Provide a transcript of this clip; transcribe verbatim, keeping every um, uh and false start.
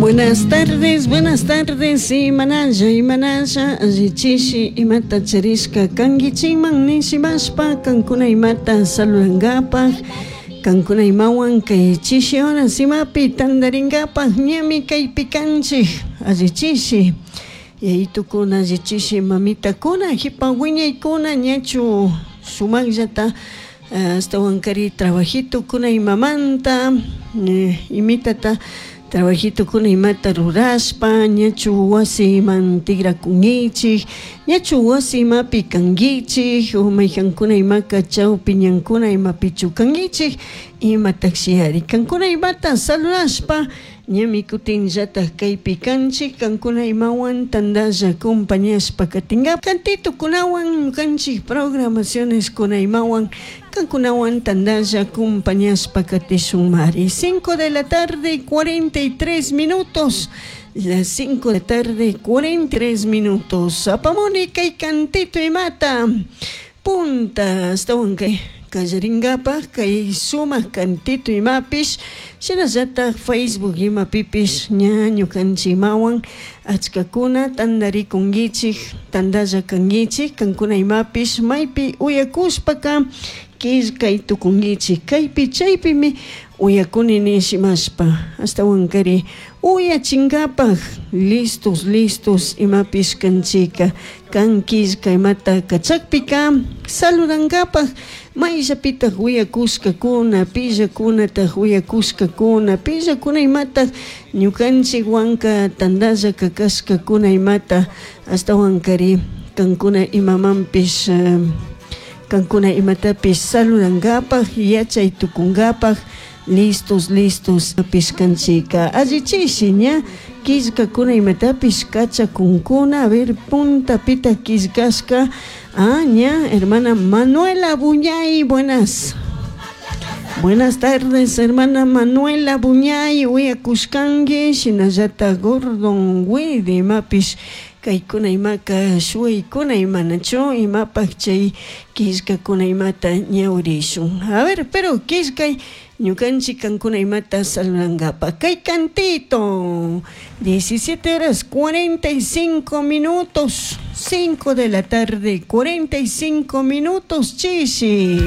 Buenas tardes, buenas tardes, imanalla, imanalla, allichishi, imata charishka kankichikman nishimashpa, kankuna imata saludankapaj, kankuna imawan kay chishi horas imapi tantarinkapaj ñami kaypi kanchik, allichishi, yayitukuna allichishi mamitakuna, jipa wiñaykuna ñachu sumakllata ashtawankari trabajitokuna imamanta, imitata trabajitokuna imata rurashpa ñachu wasiman tigrakunkichik, ñachu wasi imapi kankichik o mayjankuna imaka chawpi ñankuna imapichu kankichik imatashi kankuna imata saludashpa ñami kutinllatak kaypi kanchik kankuna imawan tantalla acompañashpa katinka cantitokunawan ñukanchik programaciones kuna imawan kankunawan tantalla acompañashpa katishunmari. Cinco de la tarde cuarenta y tres minutos, las cinco de la tarde cuarenta y tres minutos. Apamuni kay cantito imata punta ashtawan kay kallarinkapak kay sumak cantito imapish shinallatak Facebook imapipish ña ñukanchik imawan achkakuna tantarikunkichik tantalla kankichik kankuna imapish maypi uyakushpaka killkay tukunkichik kaypi chaypimi uyakuni nishimashpa ashtawankari uyachinkapak listos listos imapish kanchika kan killka imata kachakpika saludankapak mayllapitak uyakushkakuna pillakunatak uyakushkakuna pillakuna imatak ñukanchik wanka tantalla kakashkakuna imata ashtawankari kankuna imamanpish kankuna imatapish saludankapak yachay tukunkapak listos listos pishkanchika allichishi ña killkakuna imatapish kachakunkuna. A ver, puntapita killkashka ah ña hermana Manuela Buñay, buenas buenas tardes hermana Manuela Buñay, uyakushkanki shinallata Gordon Widi imapish kaykuna imaka shuwaykuna imanachu imapak chay killkakuna imata ñawrishun. A ver, pero killkay ñukanchik kankuna imata saludankapak kay cantito diecisiete horas cuarenta y cinco minutos, cinco de la tarde cuarenta y cinco minutos, chishi.